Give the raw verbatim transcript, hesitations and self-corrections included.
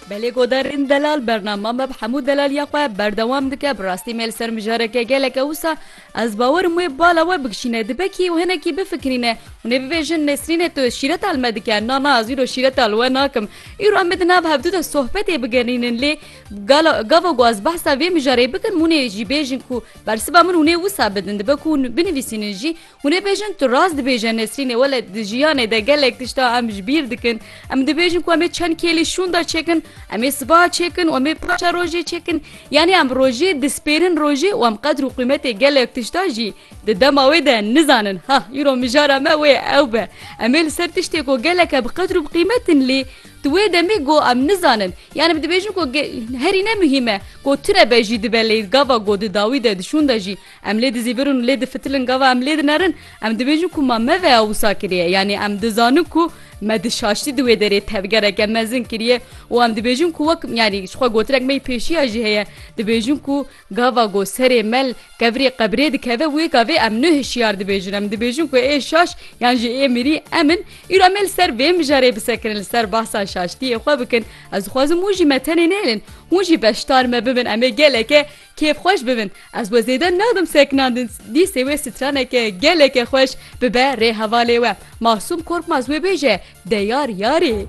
Belê godarên delal, bernama me bi hemû delaliya xwe berdewam dike. Bi rastî me li ser mijareke geleke wisa, ez bawerim wê bala we bikişîne. Dibe kî û hinekî bifikirîne, hûn ê bibêjin, Nesrîne, tu şîreta li me dike. Na, na, ez îro şîreta li we nakim. Îro em ê di nav hevdû de sohbetê bigerînin, lê gala, gava ku ez behsa vê mijarê bikim, hûn ê jî bêjin ku bersiva min hûn ê wisa bidin. Dibe ku hûn binivîsînin jî, hûn ê bêjin, tu rast dibêje Nesrînê, wele di jiyanê de gelek tişta em ji bîr dikin. Em dibêjin ku em ê çend kêlî şûnda çêkin, em ê sibaha çêkin û em ê paşa rojê çêkin. Yanî em rojê dispêrin rojê û em qedr û qîmetê gelek tişta jî di dema wê de nizanin. Ha, îro mijara me wê ew be. Em ê li ser tiştê ku gelek e bi qedr û bi qîmetin lê di wê demê ku em nizanin. Yanî em dibêjin ku ge-, herî ne muhîm e. Ku tune be jî dibe lê gava ku di dawî de di şûn de jî em lê dizîvirin û lê difitilin, gava em lê dinerin, em dibêjin ku ma me veya wisa kiriye. Yanî em dizanin ku me di şaştî di wê derê tevgereke mezin kiriye û em dibêjin ku wek, yanî ji xwe gotinek me yî pêşiya jî heye, dibêjin ku gava ku serê me li kevirê qebrê dikeve, wê gavê em ne hişyar dibêjin. Em dibêjin ku ê şaş yan jî ê mirî em in. Îro em ê li ser vê mijarê bisekirin, li ser behsa şaştiyê xwe bikin. Ez dixwazim hûn jî me tenê nehêlin. Hûn jî beşdar me bibin, em ê geleke kêfxweş bibin. Ez we zêde nadim sekinandin, dîsê wê straneke geleke xweş bibe rê hevalê we. Masûm Korkmaz wê bêje, de yar yarê.